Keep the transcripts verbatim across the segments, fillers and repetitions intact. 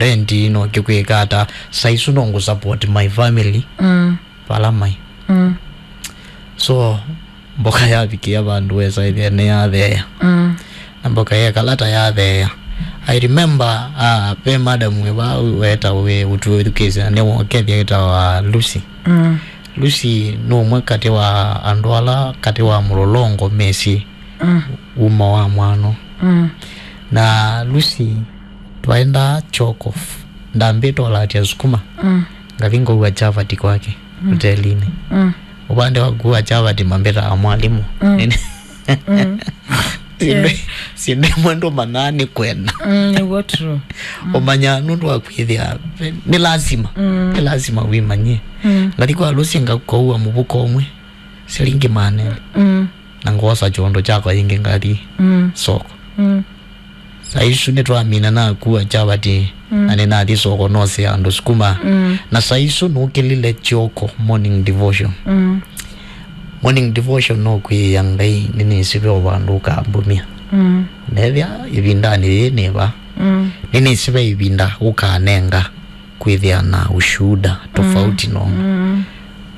rent ino kĩkwĩka ata, saa isu no ngũ support my family. Mm. Vala mai. Mm. So, mboka yavikĩa vandũ wesa ĩthĩa nĩyatheea. Mm. Na mboka yekala ta yatheea. I remember, ah, ve madam wĩ vaa wetawa wĩ ũtwĩthukĩĩsya na nĩwokethya wĩtawa Lucy. Mm. Lucy nĩ ũmwe katĩ wa andũ ala katĩ wa mũlolongo mesĩ. Mm. Umo wa mwano. Mm. Na Lucy twaendaa choko f-, ndambĩtwa latia sukuma. Mm. Ngathi ngaua chavati kwake, mm, hotelinĩ. Mm. Ũvande wa kuua chavati mambĩtaa mwalimũ. Mm. Nene. Mm. Syĩndũ, yeah, syĩndũ imwe ndũmanyaa nĩ kwenda. Mm, nĩw'o true. Mm. Ũmanyaa nũndũ wa kwĩthĩa nĩ lazima. Mm. Nĩ lazima wĩmanyie. Mm. Ngathi kwa Lucy nga-, ngaua mũvuko ũmwe, silingi maana elĩ. Mm. Na ngwosa kyondo kyakwa yĩngĩ ngathi, mm, soko. Mm. Saa isu nĩtwamina nakua chavati, mm, na nĩnathi soko nose andũ sukuma. Mm. Na saa isu nũkĩlile kyoko morning devotion. Mm. Morning devotion no kwĩĩa Ngai nĩnĩsĩ ve o vandũ ũkambumya. Mm. Nethĩa ĩvindanĩ yĩĩ nĩva. Mm. Nĩnĩsĩ ve ĩvinda ũkanenga kwĩthĩa na ushuhuda tofauti, mm, nono. Mm.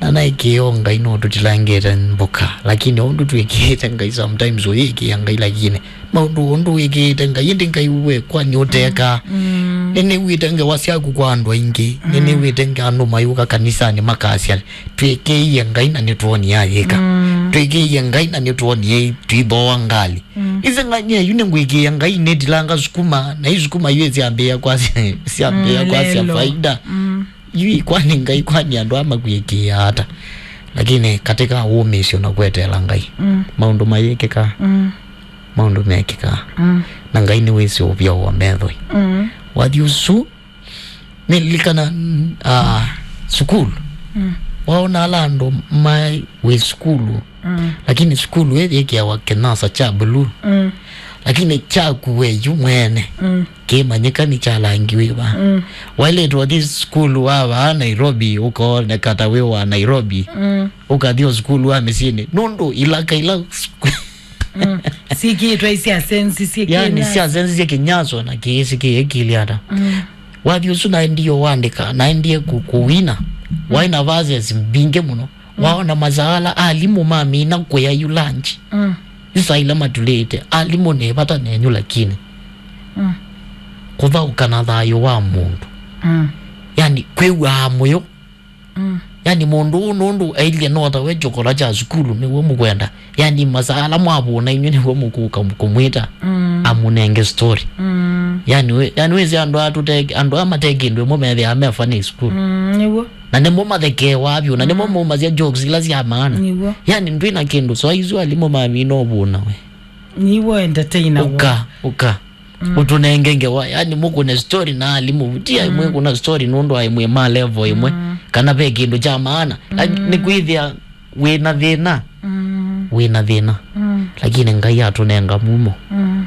Na naĩkĩĩa o Ngai no tũtilangĩte mboka, lakini ũndũ twĩkĩĩte Ngai sometimes ũyĩkĩĩa Ngai, lakini maũndũ ũndũ wĩkĩĩte Ngai, ĩndĩ Ngai we kwani ũteka? Mm. Nĩnĩw'ĩte ngewa syaku kwa andũ aingĩ, mm, nĩnĩw'ĩte nge-, andũ mayũka kanisanĩ makasya, "Twĩkĩĩie Ngai na nĩtwonie ayĩka. Mm. Twĩkĩĩie Ngai na nĩtwonie twĩthooa ngalĩ." Mm. Ĩse ng'ania yu nĩngwĩkĩĩa Ngai nĩtilanga sukuma, na yu sukuma yu syambĩĩa kwasya, syambĩĩa, mm, kwasya lelo. Faida. Mm. Yu kwani Ngai kwani andũ aa makwĩkĩĩa ata? Lakini katika wũmĩĩsyo na kweteela Ngai, mm, maũndũ mayĩkĩkaa. Mm. Maũndũ mekĩkaa. Mm. Na Ngai nĩwĩsĩ ũvya wa methoi. Mm. Wathi ũsu, nĩlilikana, ah, sukulu. Mm. Waona ala andũ mai wĩ sukulu. Mm. Lakini sukulu ĩyĩkĩawa kĩnasa kya blue. Mm. Lakini kyaku we yu mwene. Mm. Kĩmanyĩka nĩ kya langi wĩva. Mm. Waĩlĩtwe ũthi sukulu wa vaa Nairobi, ũkooneka ta wĩ wa Nairobi. Mm. Ũkathi o sukulu wa mĩsyĩnĩ. Nũndũ ilaka ila Mm. Sikĩtwe isya sensi, sikĩtwe yani, sya sensi sya kĩnyaso na kĩĩ sikĩĩkĩlya ata. Mm. Wathi ũsu naendie ũandĩka, naendie ku-, kũwina. Mm. Waĩ na verses mbingĩ mũno. Mm. Waona masaala alimũ mamina kũya yu lunch. Mm. Yu saa ila matulĩte, alimũ nĩ vata nenyu lakini. Mm. Kũthaũka na thayũ wa mũndũ. Mm. Yani, kwĩw'aa mũyo. Mm. Yani mũndũ ũũ nũndũ ailye no tawe kyokola kya sukulu nĩw'o mũkwenda. Yani masaa ala mwavũna inyw'ĩ nĩw'o mũkũka kũmwĩta, mm, amũnenge story. Mm. Yani wĩ-, yani wĩsĩ andũ aa tũte-, andũ aa mate kĩndũ ĩmwe methĩaa me funny sukulu. Mm, nĩw'o. Na nĩmo mathekeewaa vyũ, na nĩmo, mm, maumasya jokes ila sya maana. Nĩw'o. Yani ndwĩ na kĩndũ, so isu alimũ mamina ũvũna we. Nĩw'o entertainer. Ũka, ũka. Mm. Ũtũnenge ngewa, yani mũkũne story na alimũ. Ti aimwe, mm, kũna story nũndũ aimwe ma level ĩmwe, mm, kana ve kĩndũ kya maana. Like, mm, nĩkwĩthĩa wĩna thĩna. Mm. Wĩna thĩna. Mm. Lakini Ngai atũnenga mumo. Mm.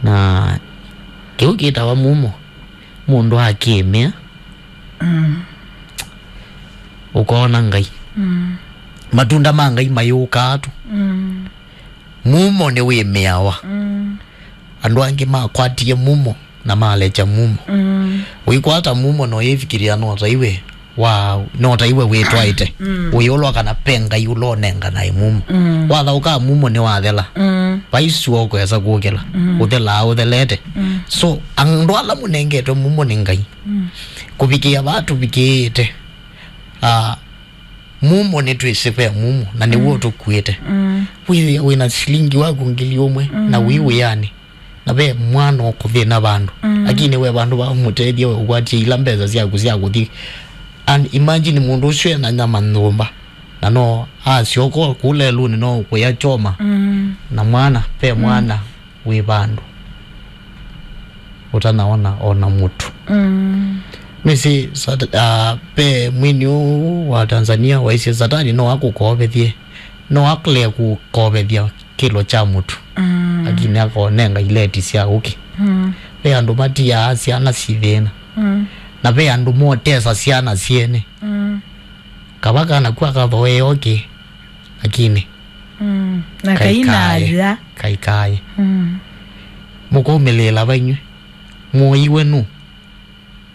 Na kĩu kĩtawa mumo, mũndũ akĩmĩa, mm, ũkoona Ngai. Mm. Matunda ma Ngai mayũkaa tu. Mm. Mumo nĩwĩmĩawa. Mm. Andũ angĩ makwatie mumo na malekya mumo. Mm. Ũikwata mumo na ũyĩvikĩlĩa no ta iwe wa, no ta iwe wĩtwaĩte. Mm. Ũyĩolwa kana pe Ngai ũla ũnenganae mumo. Mm. Wathaũka mumo nĩwathela. Mm. Vai sua ũkwesa kũkĩla. Mm. Ũthelaa ũthelete. Mm. So, andũ ala mũnengetwe mumo nĩ Ngai. Mm. Kũvikĩa vaa tũvikĩĩte, ah, mumo nĩtwĩsĩ ve mumo, na nĩw'o, mm, ũtũkuĩte. Mm. Wĩthĩa wĩna silingi waku ngili ũmwe, mm, na wĩ wĩanĩ, na ve mwana ũkũthĩna vandũ. Mm. Lakini we vandũ va ũmũtethye, we ũkwatie ila mbesa syaku sya kũthi. And imagine mũndũ ũcio ena nyama nyũmba, na no asyoka kũla ĩlũnĩ no kũya choma. Mm. Na mwana, ve, mm, mwana wĩ vandũ ũtanaona ona mũtu. Mm. Nĩsĩ Sat-, ah, ve mwini ũũ wa Tanzania waisye Satani no akũkovethye, no akũlee kũkovethya kĩlo kya mũtu. Mm. Lakini akonenga ileti sya ũkĩ. Mm. Ve andũ matiaa syana syĩ thĩna. Mm. Na ve andũ motesa syana syene. Mm. Kava kana ku akathoee ũkĩ, lakini, mm, na kainaaya. Kainaaya. Mm. Mũkaumĩlĩĩla va inyw'ĩ? Mũiwe nũ?